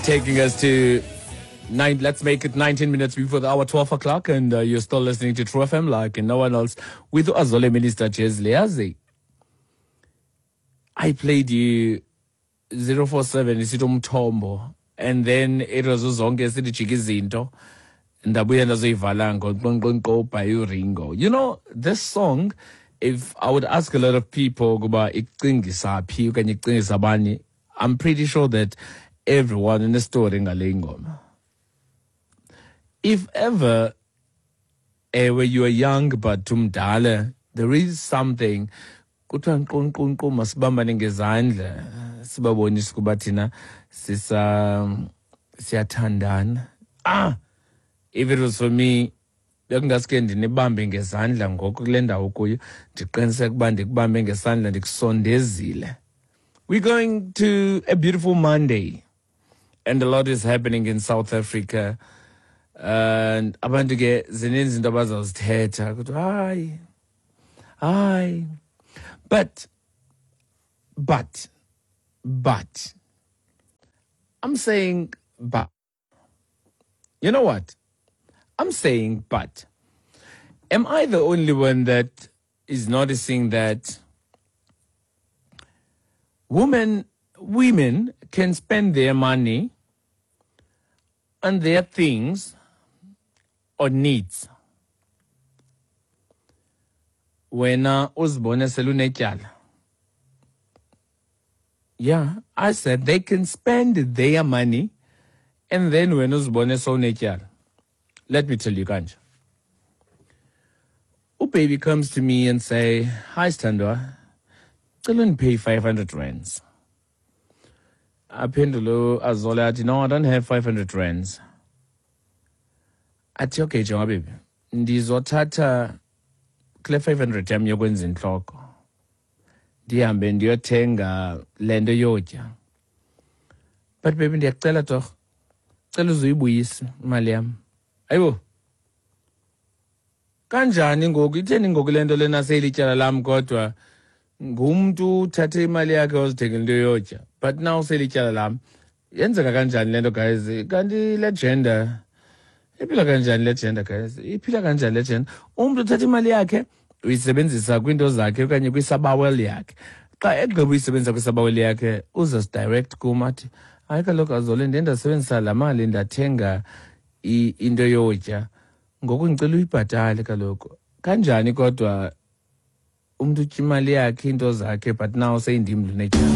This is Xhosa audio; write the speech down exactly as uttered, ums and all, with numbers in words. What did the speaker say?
Taking us to nine, let's make it nineteen minutes before the hour twelve o'clock, and uh, you're still listening to True F M like no one else with Azole Minister Jez Leazi. I played you zero four seven isithi umthombo, and then it was uzonke sithi jika izinto ndabuya ndazoyivala ngoqonqonqo by uRingo. You know, this song, if I would ask a lot of people ukuba icingisa phi okanye icingisa bani, I'm pretty sure that everyone in the story ngale ngoma. If ever ewe you are young but umdala, there is something kuthiwa nqonqonqo masibambane ngezandla sibabonise ukuba thina sisa siyathandana. Ah, if it was for me, bekungaske ndinibambe ngezandla ngoku kule ndawo kuyo, ndiqiniseke ukuba ndikubambe ngesandla ndikusondezile. We're going to a beautiful Monday, and a lot is happening in South Africa. And abantu ke zininzi izinto abazazithetha kuthiwa hayi hayi, but but but I'm saying, but you know what I'm saying, but am I the only one that is noticing that women women can spend their money on their things or needs? Wena uzibone selunetyala. Yeah, I said they can spend their money and then wena uzibone sewunetyala. Let me tell you kanje. Ubaby comes to me and say, "Hi Sthandwa, cela undipay five hundred rands." Aphendule Azole athi, "No, I don't have five hundred rands." Athi, "Okay, jonga baby, ndizothatha kule five hundred yam yokwenza intloko, ndihambe ndiyothenga le nto yotya. But baby, ndiyakucela torho, cela uzuyibuyise imali yam." Ayibo, kanjani ngoku? Itheni ngoku le nto lena seyilityala lam, kodwa ngumntu uthathe imali yakhe wazithengela into yotya, but now seyilityala lam. Yenzeka kanjani le nto, guys? Kanti le gender iphila kanjani le gender, guys? Iphila kanjani le gender? Umntu uthatha imali yakhe uyisebenzisa kwiinto zakhe okanye kwisabawel yakhe. Xa egqiba uyisebenzisa kwisabawel yakhe, uzasidirect kum athi, "Hayi kaloku Azole, ndiye ndasebenzisa laa mali ndathenga into yotya, ngoku ndicela uyibhatale kaloku." Kanjani kodwa umntu utya imali yakhe, iinto zakhe, but now seyindim lunetyala?